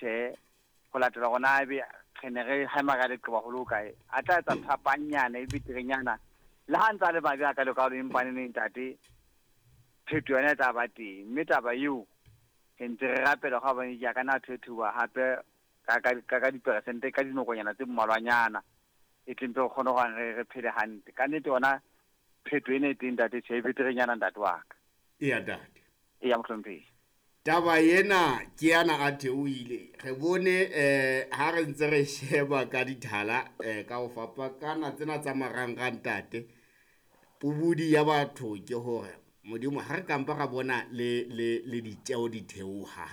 tjhe, ho latela hore na ebe re ne re hema ka leqeba ho le hokae, a tla etsa phapanyana e beterenyana. Le ha ntse a le mabe a ka lekalo, empa neneng ntate, phetho yona e tla ba teng. Mme taba eo re ntse re rapela ga bane ke ka na thethuwa hape ka diperesente ka dinokonyana tse mmalwanyana, e tle mpe re kgone hore re phele hantle. Ka nnete yona phetho ena e teng ntate, tjhe, e beterenyana ntate wa ka. Eya ntate. Eya mohlomphehi. Taba ena ke yana a theohile. Re bone ha re ntse re sheba ka dithala ka ho fapakana tsena tsa marangrang ntate. Pobodi ya batho ke hore Modimo ha re kampa ra bona le ditjeo di theoha.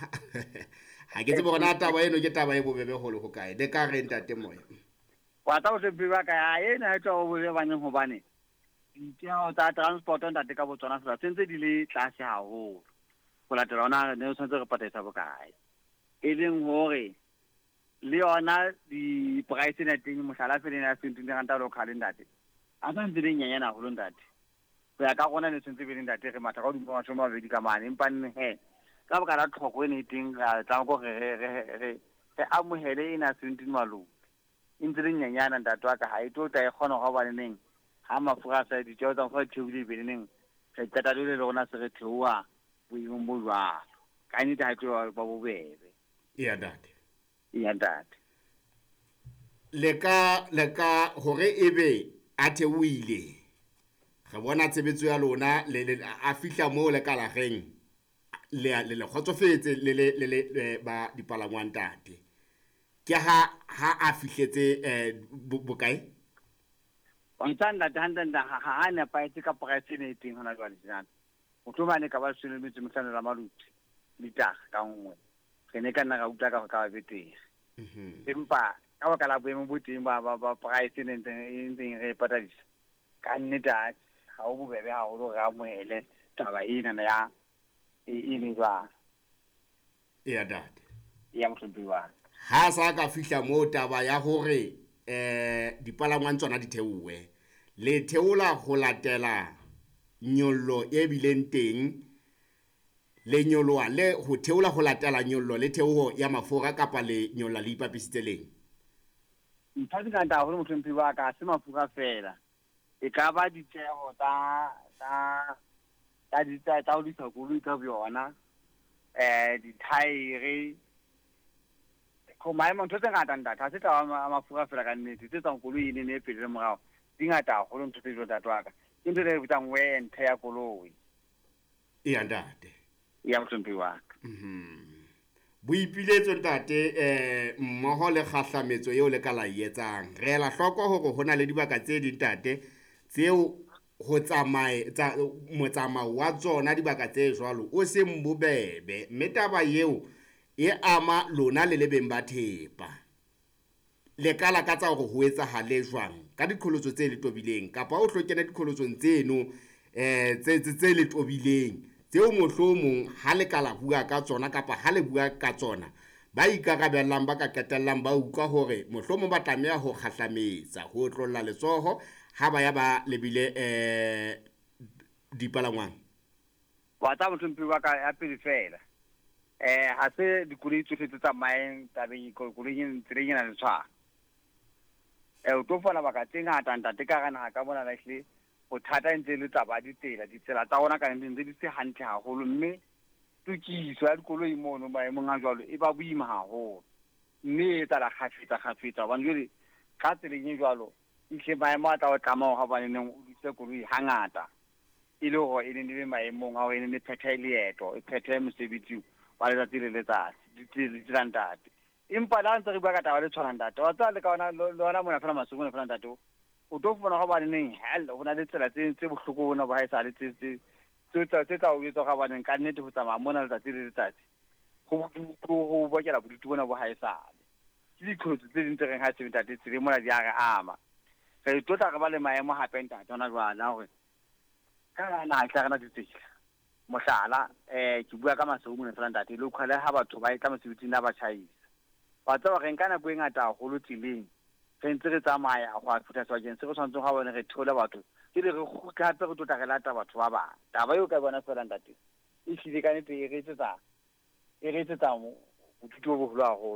Ha ke tsebe hore na taba eno ke taba e bobebe ho le hokae. Le ka re ntate Moya? Wa tsa mohlomphehi wa ka, ha ena ha e tloha bobebe baneng, hobane ditjeho tsa transport ntate ka botsona fela tse ntse di le tlase haholo. Ho latela hona re ne re tshwanetse re patadisa bokae. E leng hore le yona di-price ena teng, mohlala fela ena ya 17 ranta local ntate, a sa ntse le nyenyane haholo ntate. Ho ya ka rona ne tshwanetse be le ntate re matha ka hodimo 20 ka mane, empa nne he ka baka la tlhoko e ne e teng, ra tlameha hore re amohele ena 17 malome. E ntse le nyenyana ntate wa ka, ha e tlo tla e kgona hore hobane neng ha mafura a sa ditjeho tsa mafura di theohile, ebe neneng re qeta jwale le rona se re theoha boemong bo jwalo. Ka nnete ha e tlo ba bobebe. Eya ntate. Eya ntate. Le ka hore ebe a theohile, re bona tshebetso ya lona le a fihla moo le ka la reng le kgotsofetse le ba dipalangwang ntate. Ke ha a fihletse bokae? Wa ntsa ntate hantle ntate, ha a nepahetse ka price ena e teng hona jwale tjena. Mohlomong a ne ka ba 15 la maluti litara ka nngwe, re ne ka nna ra utlwa ka ho ka ba betere. Empa ka baka la boemo bo teng ba price e ntseng re e patadisa, ka nnete ha ho bobebe haholo re amohele taba ena ya e le jwalo. Eya ntate. Eya mohlomphehi wa ka. Ha sa ka fihla moo taba ya hore dipalangwang tsona di theohe, le theola ho latela nyollo e bileng teng, le nyoloha le ho theola ho latela nyollo le theoho ya mafura, kapa le nyolla le ipapisitse leng? Ntho tse ngata haholo mohlomphehi wa ka, ha se mafura fela. E ka ba ditjeho tsa ho lokisa koloi ka boyona, dithaere, maemo, ntho tse ngata ntate, ha se taba ya mafura fela ka nnete, tse tswang koloi e nene e pele le morao, di ngata haholo ntho tse jwalo ntate wa ka. Ke ntho e re bitsang wear and tear ya koloi. Eya ntate. Eya mohlomphehi wa ka. Boipiletso ntate, mmoho le kgahlametso eo le ka la e etsang. Re ela hloko hore ho na le dibaka tse ding ntate tseo ho motsamao wa tsona dibaka tse jwalo o seng bobebe, mme taba eo e ama lona le le beng ba thepa. Le ka lakatsa hore ho etsahale jwang ka diqholotso tse le tobileng, kapa o tlo kena diqholotsong tseno tse le tobileng, tseo mohlomong ha le ka la bua ka tsona kapa ha le bua ka tsona, ba ikarabellang ba ka qetellang ba utlwa hore mohlomong ba tlameha ho kgahlametsa, ho otlolla letsoho ha ba ya ba lebile dipalangwang. Wa tsa mohlomphehi wa ka, ya pele fela. Ha se dikoloi tsohle tse tsamayang tabeng koloing tseleng ena le tshwana. O tlo fumana baka tse ngata ntate ka hara naha ka mona, ehlile bothata e ntse le taba ya ditsela. Ditsela tsa rona ka nnete ntse di se hantle haholo, mme tokiso ya dikoloi mono maemong a jwalo e ba boima haholo, mme e etsahala kgafetsa kgafetsa, hobane jwale ka tseleng e jwalo ehlile maemo a tla o tlama hore hobane neng o lokise koloi hangata, e le hore e ne le maemong a hore e ne e phethe leeto, e phethe mosebetsi wa letsatsi le letsatsi, ditsela ntate. Empa le ha ntse re bua ka taba le tshwanang ntate, wa tseba le ka ona le ona mona fela Maseru mona fela ntate, o tlo fumana hobane neng hell ho na le tsela tse bohloko bona bo haesale tse tla o etsa hore hobaneng ka nnete ho tsamaya mona letsatsi le letsatsi ho bodutu, ho bokela bodutu bona bo haesale. Ke diqholotso tse ding tse reng ha se ntate tseleng mona di a re ama. Re tlo tla re ba le maemo hape ntate hona jwale a hore ka hara naha tla rena ditsela. Mohlala, ke bua ka Maseru mona fela ntate, local ha batho ba etla mosebetsing a ba tjhaisa. Wa tseba re nka nako e ngata haholo tseleng, re ntse re tsamaya ho ya fihla sebakeng se re tshwanetseng ha bone re theole batho, pele re kgutle hape re tlo tla re lata batho ba bang. Taba eo ka bona fela ntate, e hlile ka nnete e re etsetsa bodutu bo boholo haholo.